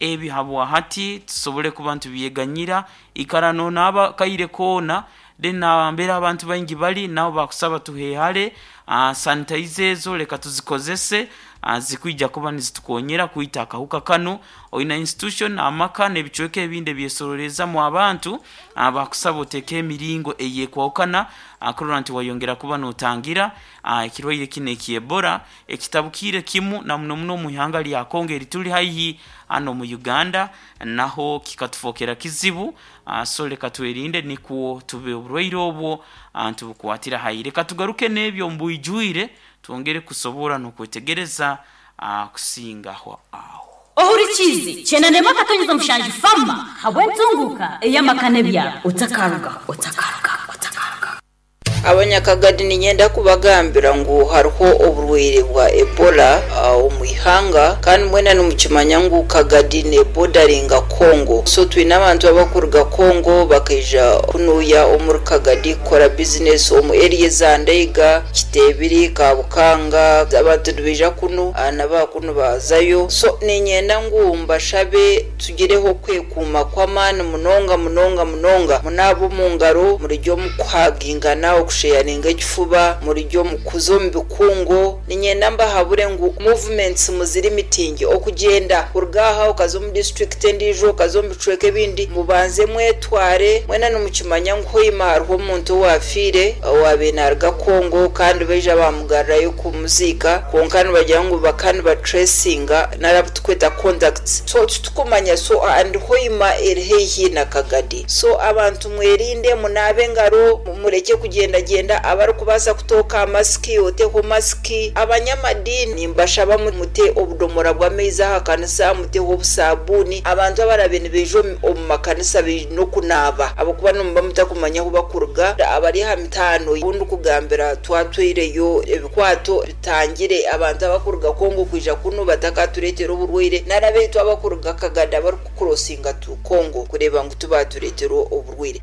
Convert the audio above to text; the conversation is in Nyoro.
Ebi habwahati tusobole kuba nitubyeganyira. Ikara nonaaba kaire koona, then nambere abantu baingi bali naho bakusaba tuhehale. Sanitizer ezo leka tuzikozese, zikwija kuba nizitukonyera kwita akahuka kanu. Oina institution, amaka n'ebicweka ebindi ebyesorolezamu abantu, bakusaba otekeho emiringo eyekwahukana kurora nti wayongera kuba notangira ekirwaire kinu ekya Ebola ekitabukiire kimu na muno muno omu ihanga lya Congo erituli haihi hanu omu Uganda, naho kikatufokera kizibu. So leka twerinde nikwo tube oburwaire obwo nitubukwatira haihi. Leka tugaruke n'ebyo omu bwijwire twongere kusobora n'okwetegereza kusingaho aho. Ohurikiize 91.7 Fama habw'entunguuka ey'amaka n'ebyaro. Otakarugaho, otakarugaho, otakarugaho. Abanyakagadi niinyenda kubagambira ngu hariho oburwaire bwa Ebola omu ihanga kandi mwena nimukimanya ngu Kagadi nebodaringa Congo. So twine abantu abakuruga Congo bakaija kunuya omuri Kagadi kukora bizinesi omu area eza Ndaiga, Kiteebiri, Kabukanga. Abantu nibaija kunu na bakunu bazayo. So niinyenda ngu mbashabe Tugireho okwekuuma kw'amaani munonga munonga munonga. Munaabe omu ngaro, murugye omu kuhagingana, okusheyaringa ekifuba, murugye omu kuza omu bikungu. Niinyenda mbahabure ngu movements muzirimitingye. Okugyenda kuruga aha okaza omu disiturikiti endiijo, okaza omu bicweka ebindi, mubanze mwetware. Mwena nimukimanya ngu Hoima hariho omuntu owaafiire owaabaire naaruga Congo kandi baija baamugarurayo kumuziika kwonka nibagira ngu bakaba nibatracinga nari abu turikweta contacts so titukumanya so and Hoima eri haihi na Kagadi so abantu mwerinde munaabe engaro murekye kugyendagyenda abarikubaasa kutooka masiki oteho masiki abanyamadini nimbashaba mute obudomora bw'amaizi aha kanisa muteho obusabuuni abantu abarabe nibaija omu makanisa baine okunaaba ahabw'okuba nimuba mutakumanya ahu bakuruga abari aha mitaano obu ndikugambira twatwaireyo ebikwato Tutangire abantu abakuruga Congo kwija kunu batakatureetera oburwaire nari abaitu abakuruga Kagadi abarikukurosinga to Congo kureeba ngu tibatureetera oburwaire.